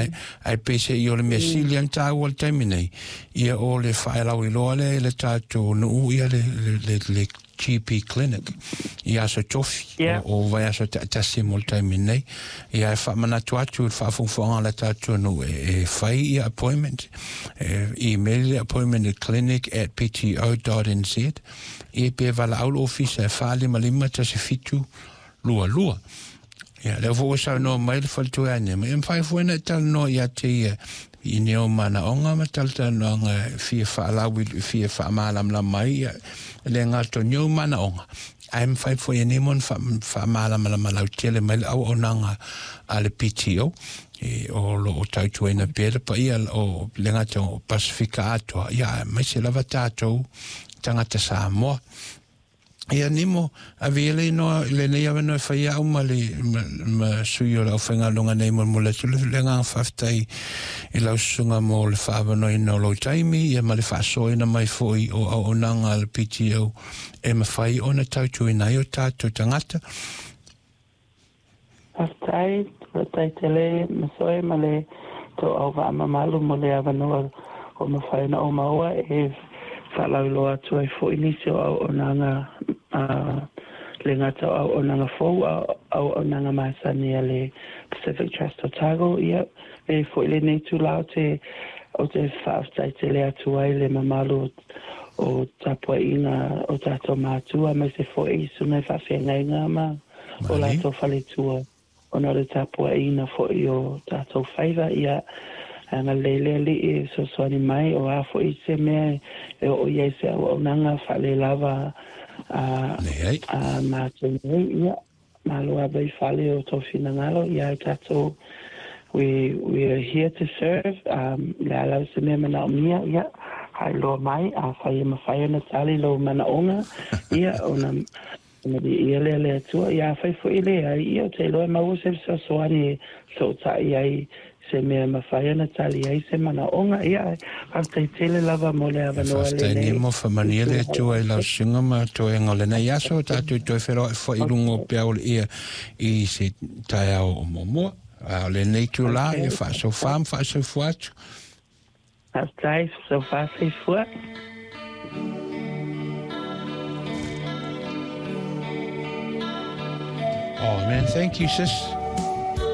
Ae ae peiseai o le mea sili lava ona taua i le taimi nei, ia o le faelauiloa lea i le tatou nuu ia le le le GP clinic i Aso Tofi o vaiaso taitasi mo le taimi nei. Ia e faamanatu atu i le faafogafoga a le tatou nuu e fai ia appointment, e email le appointment i clinic@pto.nz, ia pe valaau le ofisa e 455 17 22. Ia, lea foi ua saunoa mai le faletua ia Nema, e mafai foi ona e talanoa ia te ia i ni ou manaoga ma talatalanoaga e fia faalauilu, fia faamalamalama ai ia le gata o ni ou manaoga, ae mafai foi e Nemo ona faamalamalama lautele mai le auaunaga a le PTO e, o lo o tautuaina pea le paia o le gata o Pasifika atoa, ia aemaise lava tatou tagata Samoa. Ia Nimo, ave ia le inoa i lenei avanoa e fai au ma le ma sui o le aufaigaluega nei molemole atu le agaga faafetai i lau susuga mo le faaavanoaina o lou taimi ia ma le faasoaina mai foi o auaunaga a le PTO e mafai ona tautuaina ai o tatou tagata. Faafetai, faafetai tele Masoe ma le tou auvaa mamalu mo le avanoa ua mafai ona ou maua e faalauiloa atu ai foi nisi o auaunaga a le gata o auaunaga fou a o auaunaga masani a le Pacific Trust Otago. Ia, e foi lenei itula ou te ou te faafetai tele atu ai le mamalu o tapuaiga o tatou matua aemaise foi i susuga i faafeagaiga ma o latou faletua ona o le tapuaiina foi o tatou faiva, ia agalelei le Alii e fesoasoani mai, o a foi se mea e oo i ai se auaunaga faalelava a a matou nei, ia malo ava i fale o tou finagalo, ia tatou we we are here to serve, um, le a lava se mea manaomia, ia haeloa mai, afai e mafai ona tali lou manaoga, ia ona Ona viia lea le Atua. Ia afai foi e leai, ia ou te iloa e maua se fesoasoani e fesootai ai se mea e mafai ona tali ai se manaoga. Ia, ae faafetai tele lava mo le avanoa Faafetai lenei. Nemo, faamanuia le Atua i lau susuga ma toega o lenei aso, tatou toe feiloai foi i luga o peau o le ia i se taeao o muamua. A o lenei itula, ia faasofa ma faasoifua atu. Faafetai, sofa soifua. Oh man, thank you sis.